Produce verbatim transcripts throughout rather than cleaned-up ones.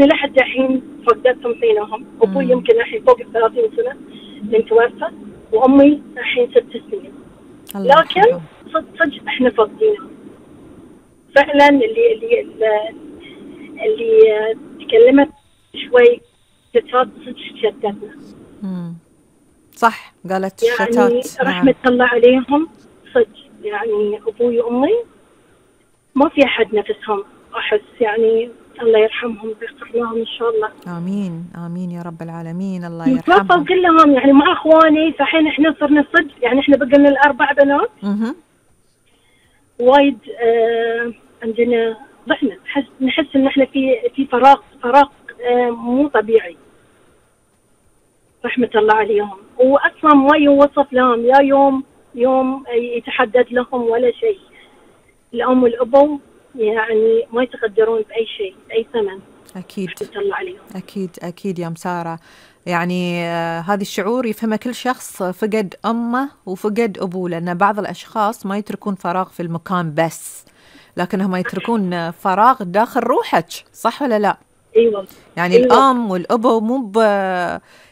لحد الحين فقدتهم فينهم. أبوي يمكن الحين فوق الثلاثين سنة من توفى، وأمي الحين ست سنين. لكن صدق صدق إحنا فاقدينهم فعلا. اللي اللي اللي تكلمت شوي ستات صدق شتتنا. امم صح، قالت يعني شتات. رحمة نعم. الله عليهم صدق. يعني أبوي وأمي ما في أحد نفسهم أحس. يعني الله يرحمهم ويغفر لهم إن شاء الله. آمين آمين يا رب العالمين. الله يرحمهم. توفوا كلهم يعني مع إخواني. فحين إحنا صرنا صدق يعني إحنا بقينا الأربع بنات. اها وايد آه عندنا ضحنا نحس نحس إن إحنا في في فراغ فراغ آه مو طبيعي. رحمة الله عليهم. وأصلا ما يوصف لهم لا يوم يوم يتحدد لهم ولا شيء. الأم والأبو يعني ما يتقدرون بأي شيء أي ثمن. أكيد رحمة الله عليهم. أكيد أكيد يا مسارة. يعني آه هذا الشعور يفهمه كل شخص فقد أمه وفقد أبوه، لأن بعض الأشخاص ما يتركون فراغ في المكان بس، لكنهم يتركون فراغ داخل روحك. صح ولا لا؟ أيوة. يعني أيوة. الأم والأبو مو ب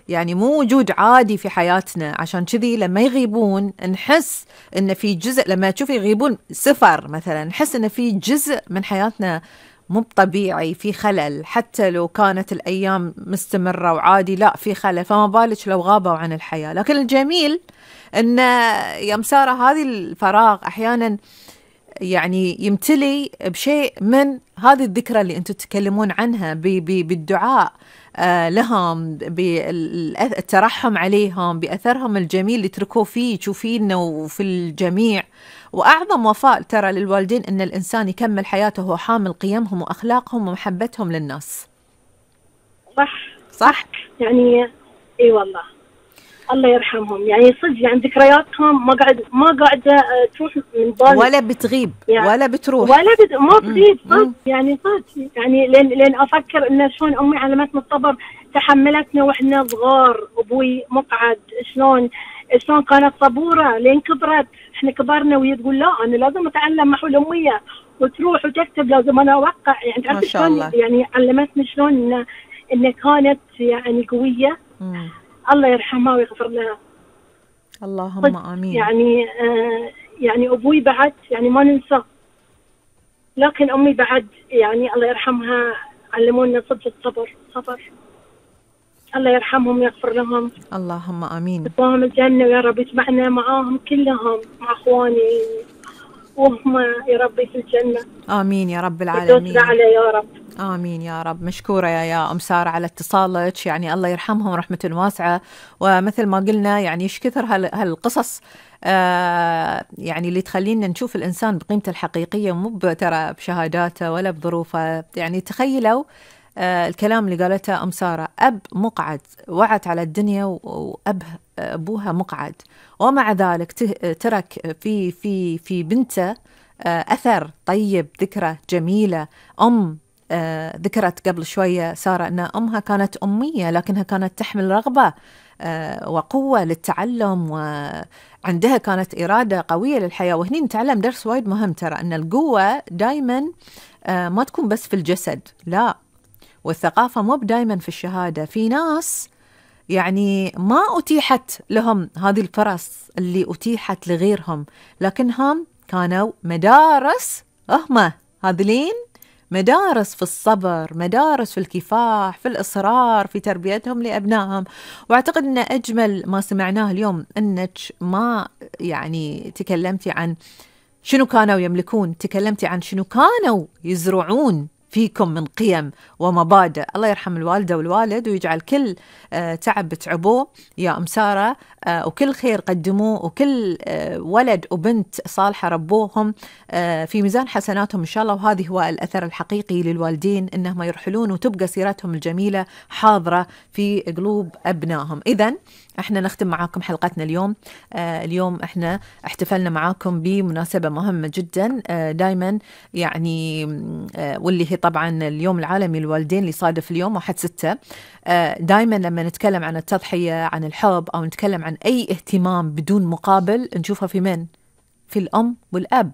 يعني مو وجود عادي في حياتنا، عشان كذي لما يغيبون نحس إن في جزء، لما تشوفي يغيبون سفر مثلا نحس إن في جزء من حياتنا مو طبيعي، في خلل. حتى لو كانت الأيام مستمرة وعادي، لا في خلل، فما بالك لو غابوا عن الحياة. لكن الجميل إن يا مسارة هذه الفراغ أحيانا يعني يمتلي بشيء من هذه الذكرى اللي أنتم تتكلمون عنها، بالدعاء لهم، بالترحم عليهم، بأثرهم الجميل اللي تركوه فيه فينا وفي الجميع. وأعظم وفاء ترى للوالدين أن الإنسان يكمل حياته وهو حامل قيمهم وأخلاقهم ومحبتهم للناس. صح صح يعني اي والله الله يرحمهم. يعني صدق يعني ذكرياتهم ما قاعد ما قاعده تروح من بالي ولا بتغيب يعني ولا بتروح ولا بت... ما تغيب صدق. يعني صدق يعني لين لين افكر ان شلون امي علمتنا الصبر، تحملتنا واحنا صغار. ابوي مقعد شلون شلون كانت صبوره لين كبرت. احنا كبرنا وهي تقول لا انا لازم اتعلم محو الاميه، وتروح وتكتب لازم انا اوقع. يعني تعرف شلون يعني علمتنا شلون ان ان كانت يعني قويه. مم. الله يرحمها ويغفر لها. اللهم آمين. يعني آه يعني أبوي بعد يعني ما ننسى، لكن أمي بعد يعني الله يرحمها علمونا صدق الصبر. صبر. الله يرحمهم ويغفر لهم. اللهم آمين. يطلعهم الجنة ويا رب يجمعنا معاهم كلهم مع أخواني وهم يا ربي في الجنة. آمين يا رب العالمين. على يا رب. آمين يا رب. مشكورة يا يا أم سارة على اتصالك. يعني الله يرحمهم رحمة واسعة. ومثل ما قلنا يعني إيش كثر هالقصص آه يعني اللي تخلينا نشوف الإنسان بقيمته الحقيقية، مو ترى بشهاداته ولا بظروفه. يعني تخيلوا آه الكلام اللي قالته أم سارة، أب مقعد وعت على الدنيا وأب أبوها مقعد، ومع ذلك ترك في في في بنته آه أثر طيب، ذكرى جميلة. أم آه ذكرت قبل شوية سارة أن أمها كانت أمية لكنها كانت تحمل رغبة آه وقوة للتعلم، وعندها كانت إرادة قوية للحياة. وهني نتعلم درس وايد مهم ترى، أن القوة دايما آه ما تكون بس في الجسد، لا، والثقافة مو دايما في الشهادة. في ناس يعني ما أتيحت لهم هذه الفرص اللي أتيحت لغيرهم، لكنهم كانوا مدارس. هم هذلين مدارس في الصبر، مدارس في الكفاح، في الإصرار، في تربيتهم لأبنائهم. وأعتقد أن أجمل ما سمعناه اليوم أنك ما يعني تكلمتي عن شنو كانوا يملكون، تكلمتي عن شنو كانوا يزرعون فيكم من قيم ومبادئ. الله يرحم الوالدة والوالد ويجعل كل آه تعب تعبوه يا أم سارة آه وكل خير قدموه وكل آه ولد وبنت صالحة ربوهم آه في ميزان حسناتهم إن شاء الله. وهذه هو الأثر الحقيقي للوالدين، إنهم يرحلون وتبقى سيرتهم الجميلة حاضرة في قلوب أبنائهم. إذن احنا نختم معاكم حلقتنا اليوم. آه اليوم احنا احتفلنا معاكم بمناسبة مهمة جدا آه دايما يعني آه واللي هي طبعا اليوم العالمي للوالدين اللي صادف اليوم واحد ستة. آه دايما لما نتكلم عن التضحية، عن الحب، أو نتكلم عن أي اهتمام بدون مقابل نشوفها في من؟ في الأم والأب.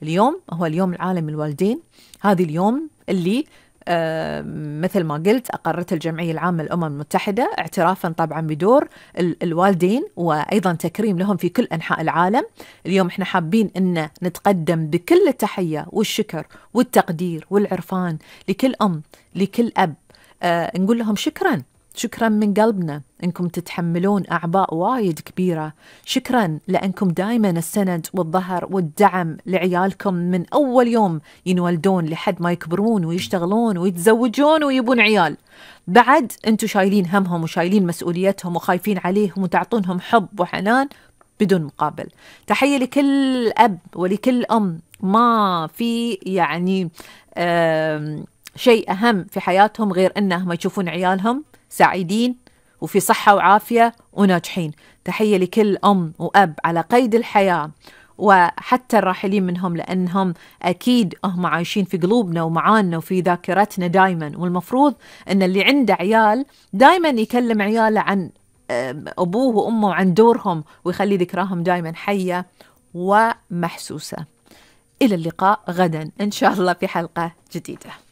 اليوم هو اليوم العالمي للوالدين. هذا اليوم اللي آه مثل ما قلت أقرت الجمعية العامة للأمم المتحدة اعترافا طبعا بدور ال- الوالدين وأيضا تكريم لهم في كل أنحاء العالم. اليوم احنا حابين أن نتقدم بكل التحية والشكر والتقدير والعرفان لكل أم لكل أب. آه نقول لهم شكرا شكرا من قلبنا أنكم تتحملون أعباء وايد كبيرة. شكرا لأنكم دائما السند والظهر والدعم لعيالكم من أول يوم ينولدون لحد ما يكبرون ويشتغلون ويتزوجون ويبون عيال. بعد أنتم شايلين همهم وشايلين مسؤوليتهم وخايفين عليهم وتعطونهم حب وحنان بدون مقابل. تحية لكل أب ولكل أم ما في يعني شيء أهم في حياتهم غير أنهم يشوفون عيالهم سعيدين وفي صحة وعافية وناجحين. تحية لكل أم وأب على قيد الحياة وحتى الراحلين منهم، لأنهم أكيد هم عايشين في قلوبنا ومعانا وفي ذاكرتنا دايما. والمفروض أن اللي عنده عيال دايما يكلم عياله عن أبوه وأمه وعن دورهم ويخلي ذكراهم دايما حية ومحسوسة. إلى اللقاء غدا إن شاء الله في حلقة جديدة.